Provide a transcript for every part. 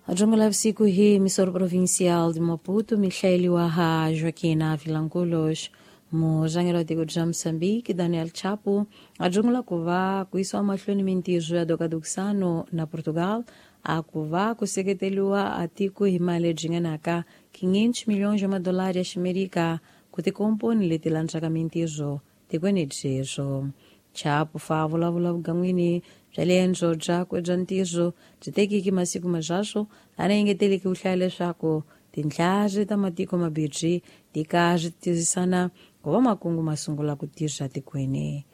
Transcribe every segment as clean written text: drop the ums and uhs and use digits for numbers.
Majungu siku hii misoro provincial de Maputo, Michele Waha Joaquina Vilanculos, murhangeri wa tiko bya Moçambique Daniel Chapo a jungula ku va ku yisiwa mahlweni mintirho ya dokadokisano na Portugal a ku va ku seketeriwa a tiko hi mali lebyi nghenaka 500 milhões ya madolari ya ximerika ku tikomponi leti landzaka mintirho tikweni byebyo. Chapo fa vulavula vugan'wini bya liendzo byakwe bya ntirho byi tekiki masiku mazwaswo a na engeteleki ku hlaya leswaku tintlhari ta matiko mabirhi ti karhi tirhisana ku va makungu ma sungula ku tirha tikweni.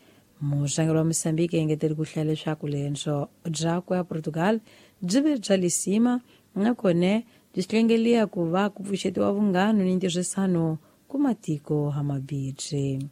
Murhangeri wa Moçambique engeteli ku hlaya leswaku liendzo byakwe a Portugal byi ve bya lisima nakone byi hlengeliya ku va ku pfuxetiwa vunghano ni ntirhisano ku matiko hamabirhi.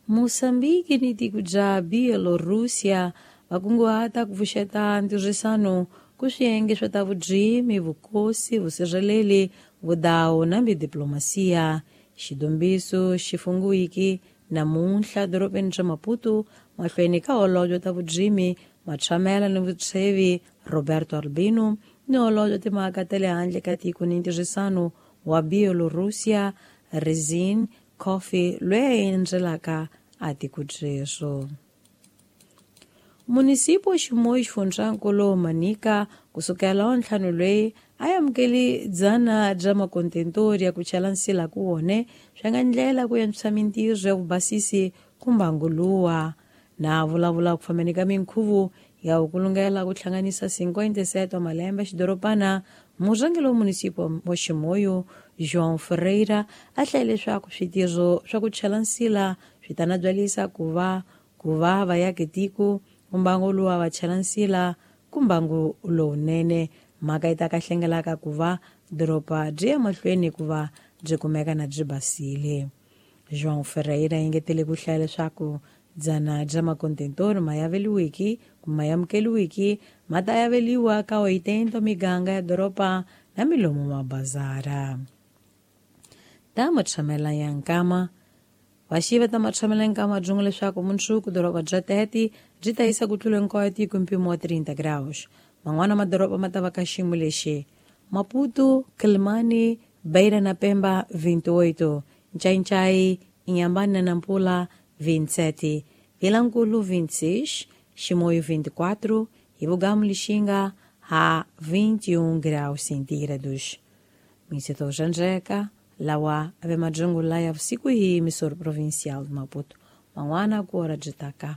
Moçambique ni tiko bya Bielorrússia va kunguhata ku pfuxeta ntirhisano ku swiyenge swa ta vurimi, vukosi, vusirheleli, vudawu na diplomasiya. Xidombiso xi fungiwiki namuntlha dorobeni ra Maputo mahlweni ka holobye ta vurimi, matshamela ni vutshevi Roberto Albino ni holobye timhaka ta le handle ka tiko ni ntirhisano wa Bielorrússia Rezin Coffey loyi a endzelaka a tiko byeswo. Munisipo Chimoio xifundzankulu Manica kusukela wa ntlhanu loyi a amukeli dzana bya makontentori ya ku chela nsila ku wone swi nga ndlela ku antswisa mintirho ya vubasisi ku mbanguluwa na vulavula ku fambeni ka minkhuvo ya ku kulungela ku hlanganisa 57 wa malembe xidorobana murhangeri wa munisipo wa Chimoio João Ferreira a hlaye leswaku switirho swa ku chela nsila swi ta nabyalisa ku va vayaki tiko mbangu luwa va chela nsila ku mbangu lowunene mhaka yi ta ka hlengelaka ku va doroba byi ya mahlweni ku va byi kumeka na byi basile. João Ferreira engetele ku hlaya leswaku dzana bya makontentori ma yaveliwiki kumbe ma amukeliwiki ma ta yaveliwa ka 80 miganga ya doroba na milomu mabazara. Ta matshamela ya nkama vaxiva ta matshamela nkama byin'we leswaku mundzuku doroba bya Tete byi ta yisa ku tlula hinkwayo tiko mpimo wa 30 graus. Man'wana madoroba ma ta va ka xiyimo lexi: Maputo, Quelimane, Beira na Pemba 28, Ncaincaí, Inhambane na Nampula 27, Vilankulo 26, Chimoio 24 e Bugamo Lixinga a 21 graus centígrados. Ministro Janjeca lawa ave majungu laya vusiku hii misoro provincial de Maputo. Man'wana ku ora byi taka.